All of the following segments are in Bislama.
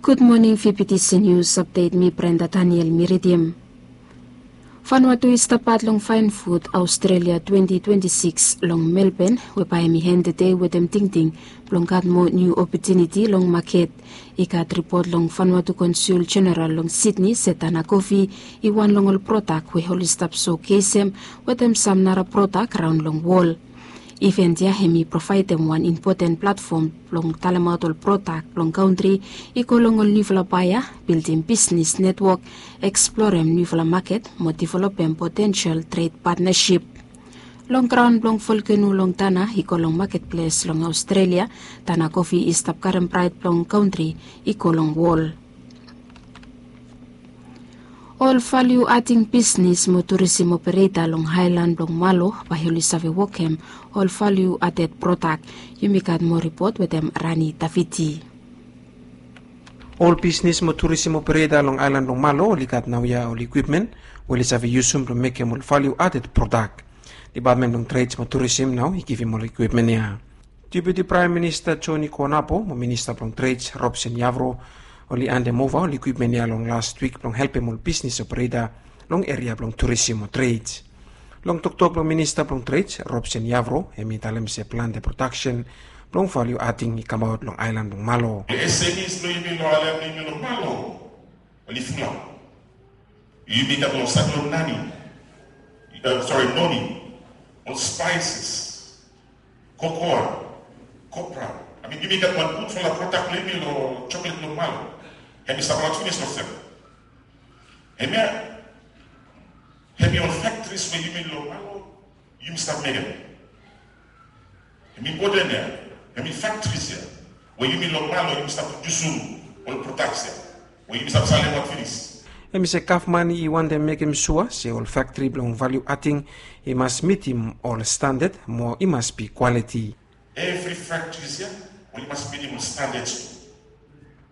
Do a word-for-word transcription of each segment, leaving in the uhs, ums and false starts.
Gud moning, V P T C News Update, mi Brenda Daniel mi ridim. Vanuatu i stap pat long Fine Food Australia twenty twenty-six long Melbourne, we bae hemi en tede wetem tingting blong gat moa niu opotuniti long maket. I gat ripot long Vanuatu Konsul Jeneral long Sydney se Tana Kofi i wan long ol prodak we oli stap sokeisem wetem sam nara prodak raon long wol. Iven ya hemi provaedem wan impoten platfom blong talemaot ol prodak blong kantri i go long ol niufala baea, bildim bisnis netwok, eksplorem niufala maket mo developem potensel tred patnasip. Long graon blong volkeno long Tana i go long maketples long Australia, Tana Kofi i stap karem braet blong kantri i go long wol. Ol valiu ading bisnis mo turisim opereta long aelan blong Malo bae oli save wokem ol valiu aded prodak. Yumi gat moa ripot wetem Rani Davidi. Ol bisnis mo turisim opereta long aelan blong Malo oli gat naoia ol ikwipmen we oli save yusum blong mekem ol valiu aded prodak. Depatmen blong Treds mo Turisim nao i givim ol ikwipmen ya. Deputi Praem Minista Joni Konapo mo Minista blong Treds Robson Yavro oli andemova ol ikwipmen ya long las wik blong helpem ol bisnis opereta long eria blong turisim mo treds. Long toktok blong Minista blong Treds Robson Yavro, hemi talem se plante prodaksen blong valiu ading i kamaot long aelan blong Malo. Ol S M Es blong yumi long aelan blong yumi long Malo oli fulap. Yumi gat long sait long nani, sori, noni, ol spaises, kokoa, kopra. I mean, yumi gat wan gudfala prodak blong yumi long choklet long Malo. Hemi stap aot finis long sem. Hemia hemi ol factories we yumi long Malo yumi stap mekem. Hemi impoten ya, hemi factories ya we yumi long Malo yumi stap prodiusum ol prodaks ya we yumi stap salemaot finis. Hemi se gavman i wantem mekem sua se ol factory blong valiu ading i mas mitim ol standad mo i mas bi kwaliti. Evri factories ya oli mas mitim ol standards tu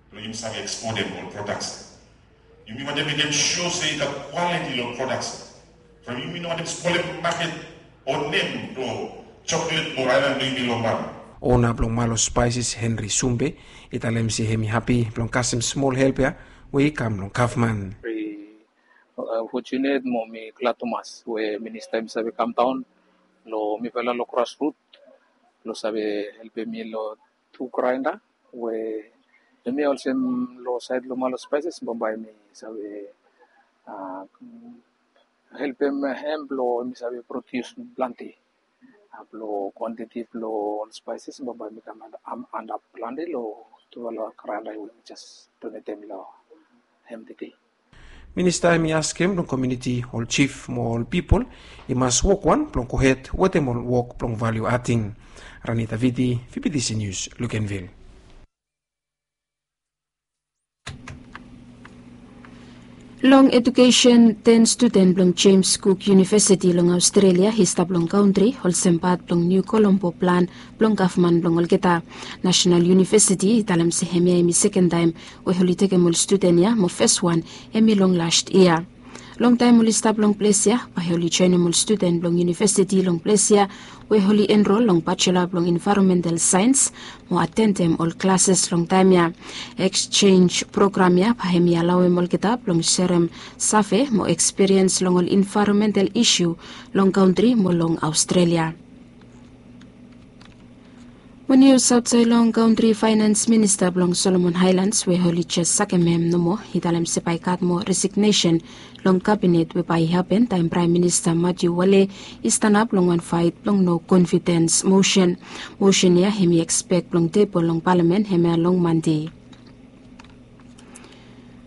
blong yumi save ekspotem ol prodaks ya. Yumi wantem mekem sua se i gat kwaliti long prodaks ya. From yumi no wantem spolem maket o nem blong choklet blong aelan blong yumi long Malo. Ona blong Malo Spices Henry Sumbe i talem se hemi hapi blong kasem smol help ya we i kam long gavman. Very fortunate mo mi glad tumas we minista hemi save kam daon long mifala long Grassroot blong save helpem mi long tu graenda we hemia olsem long saed long Malo Spices bambae mi save helpem hem blong mi save prodius plante. Blong kwantiti blong ol spaises bambae mi kam antap plante long tufala graenda we mi jes donetem long hem tede. Minista hemi askem blong komuniti, ol jif mo ol pipol i mas wok wan blong gohed wetem ol wok blong valiu ading. Rani Davidi, V P T C News, Luganville. Long ejukesen, ten studen blong James Cook University long Australia i stap long kantri olsem pat blong niu Colombo plan blong gavman blong olgeta. National University i talem se hemia hemi seken taem we oli tekem ol studen ya mo fes wan hemi long last yia. Long taem oli stap long ples ya bae oli joenem ol studen blong universiti long ples ya we oli enrol long Bachelor blong Environmental Science mo atendem ol klases long taem ya. Exchange program ya bae hemi alaoem olgeta blong serem save mo ekspiriens long ol envaeronmental isu long kantri mo long Australia. Mo nius aotsaed long kantri, faenans minista blong Solomon Aelans we oli jes sakem hem nomo i talem se bae i gat moa resignesen long kabinet we bae i hapen taem Praem Minista Matthew Wale i stanap long wan faet blong no konfidens mosen. Mosen ya hemi ekspek blong tebol long palamen hemia long Mande.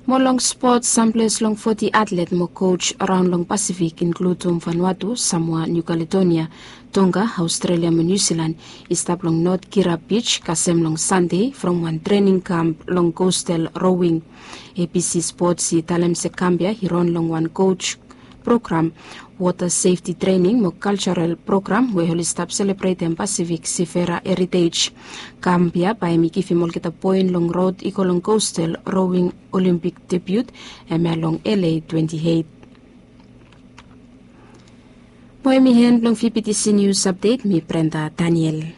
Mo long spot, samples long foti atlet mo koj raon long Pasifik, inkludum Vanuatu, Samoa, Niu Kaledonia, Tonga, Australia mo Niu Silan, i stap long North Kira Beach kasem long Sande from wan trening kamp long Coastal Rowing. A B C Sports i talem se kamp ya i ran long wan koj program, wota sefti trening mo kaljaral program we oli stap selebretem Pasifik Seafarer Heritage. Kamp ya bae hemi givim olgeta poen long rod i go long Coastal Rowing Olympic debut hemia long L A twenty eight. Mo hemi en blong V P T C News Update, mi Brenda Daniel.